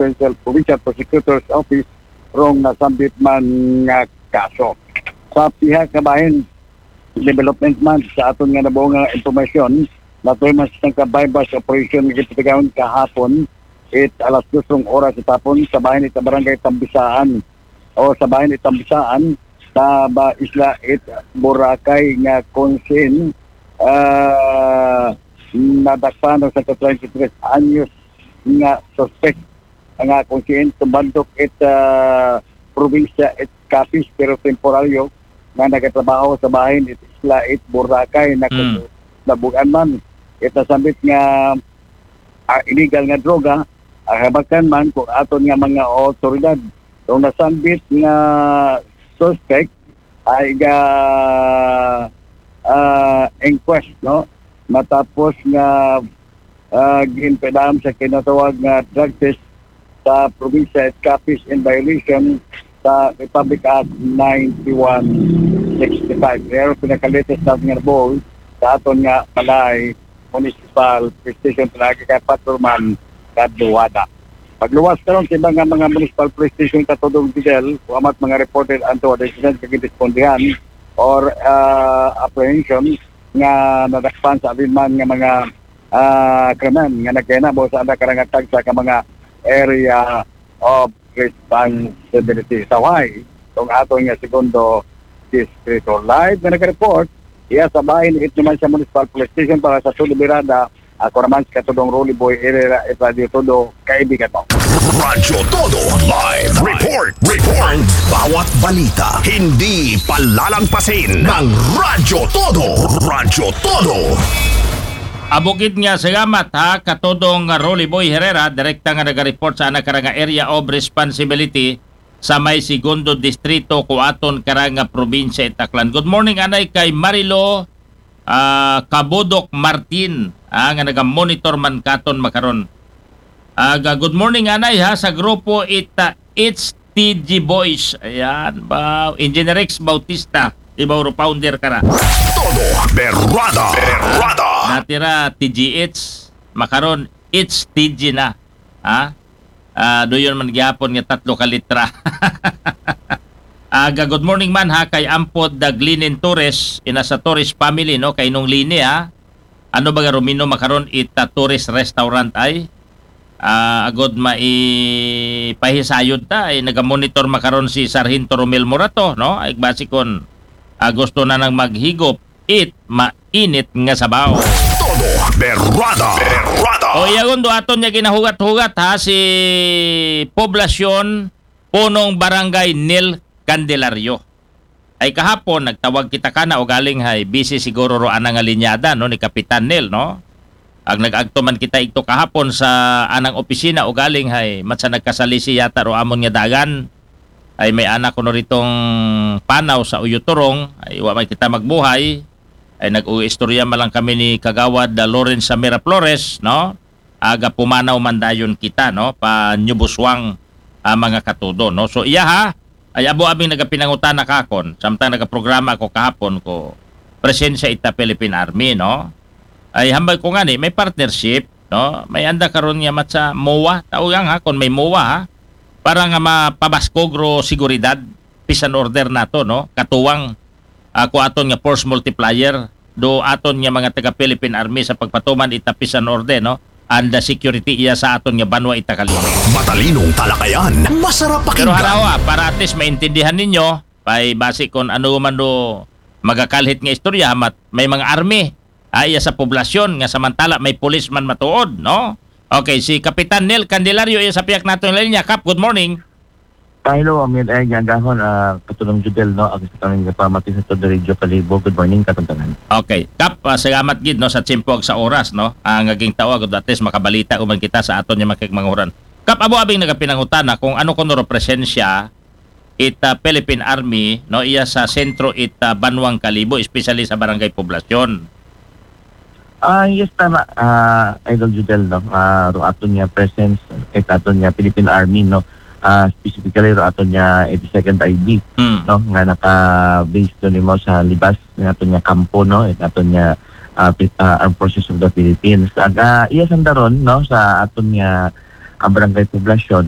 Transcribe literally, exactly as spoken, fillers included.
Provincial, Provincial Prosecutor's Office rong nasambit man nga kaso. Sa pihak nga bahin, development man sa aton nga nabuo nga impormasyon, natuloy man sa ka buy-bust operation nga gipatigayon kahapon, it alas dos rong oras sa hapon sa bahin it Barangay Tambisaan o sa bahin it Tambisaan sa ba isla it Boracay nga kung sin, ah, nadakpan ang sa twenty-three anyos nga suspect nga kung sin tumbandok it, ah, probinsya it Capiz pero temporaryo nga nagatrabaho sa bahin it isla it Boracay na Mm. nabugan man it nasambit nga, ah, illegal nga droga, ah, habakan man kung aton nga mga otoridad. Kung nasambit nga suspect ay ga, ah, inquest, no? Matapos nga, ah, ginpadam sa kinatawag nga drug test sa probinsya it Capiz in violation sa Republic Act ninety-one sixty-five. Pero pinakalatest natin nga ball sa aton nga Balay Municipal Police Station, pinagi kay Patrolman Kadluwada. Pagluwas karon sa iba nga mga municipal police station katudong Fidel, wa mat mga reported anto decision sa gindispondihan or, ah, apprehension nga nadakpan sa alinman nga mga, ah, krimen nga nagkahinabo sa anda karangatag sa ka mga area of responsibility. Sa Hawaii, kung ato nga segundo distrito. Live nga nag-report, iya sa bahin it naman sa Municipal Police Station para sa Todo Birada. Ako naman si Katudong Rolly Boy Herrera, it Radio Todo, kaibigan mo. Radyo Todo Live Report. Report. Bawat balita, hindi palalagpasin ng Radyo Todo. Radyo Todo. Abukid nga salamat ha, Katudong Rolly Boy Herrera, direkta nga naga-report sa anak karang nga area of responsibility sa may segundo distrito ko aton karang nga probinsya it Aklan. Good morning anay kay Marilo, ah, Kabudok Martin, ah, nga naga-monitor man katon makaron. Aga, good morning anay ha sa grupo it, ah, H T G Boys. Ayan, ba, Engineer Rex Bautista, ibaw ro founder ka na. Todo Berrada. Berrada. Natira T G H, makaron H T G na. Ha? Ah, doon man gihapon nga tatlo ka litra. Aga, good morning man ha kay Ampod Daglinin Torres, ina sa Torres family, no, kay Nung Lini ha. Ano ba garumino makaron ita Torres Restaurant ay? Ah, agod maipahisayod ta ay naga-monitor makaron si Sargento Romel Morato, no? Ay basi kon, ah, gusto na nang maghigop it mainit nga sabaw. Todo Berrada. Berrada. O iyagon do aton niya ginahugat-hugat ha si Poblasyon Punong Barangay Nel Candelario. Ay kahapon nagtawag kita kana o galing hay busy siguro ro ana nga linyada no ni Kapitan Nel no. Ag nag-agto man kita igto kahapon sa anang opisina o galing hay matsa nagkasalisi yata ro amon nga dagan. Ay may anak ko no ritong panaw sa Uyoturong ay wa man kita magbuhay. Ay nag-uistorya man lang kami ni Kagawad da Lawrence Samira Flores no. Aga pumanaw man dayon kita no pa New Buswang, ah, mga katudo no. So iya ha ay abo abing nagapinangutana kakon samtang nagaprograma ako kahapon ko presensya ita Philippine Army no. Ay hambal ko ngani may partnership no, may anda karon nga matsa MOA tao yang ha kon may MOA ha para nga mapabaskog ro seguridad, peace and order nato no, katuwang, ah, ko aton nga force multiplier do aton nga mga taga Philippine Army sa pagpatuman ita peace and order no, and the security iya sa aton nga banwa ita kalibo. Matalinong talakayan, masarap Pero pakinggan. Harawa, para at least maintindihan ninyo, pay basi kon ano man do magakalhit nga istorya, mat may mga army ah, iya sa poblasyon nga samantala may pulis man matuod, no? Okay, si Kapitan Nel Candelario iya sa piyak naton linya. Kap, good morning. Ah, hello, Amir. Ay, gagahon, ah, Katulong Judel, no? Ako sa kami nga pamati sa Todo Radio Kalibo. Good morning, katantanan. Okay. Kap, ah, salamat gid no sa tiyempo ag sa oras no. Ang aging tawag at least makabalita uman kita sa aton nga makikmanguran. Kap, abo abing nagapinangutana kung ano kuno ro presensya it, ah, Philippine Army no iya sa sentro it, ah, banwang Kalibo, especially sa barangay Poblasyon. Ah, yes, tama. Ah, Idol Judel, no? Ah, ro aton nga presence, it aton nga Philippine Army, no? Ah, specifically ro aton nga eighty-second I B, Hmm. no? Nga naka-base do nimo sa libas nga aton nga kampo, no? It aton nga, ah, Pi- ah, Armed Forces of the Philippines. Ag, ah, iya sanda ron, no? Sa aton nga ah, Barangay Poblacion,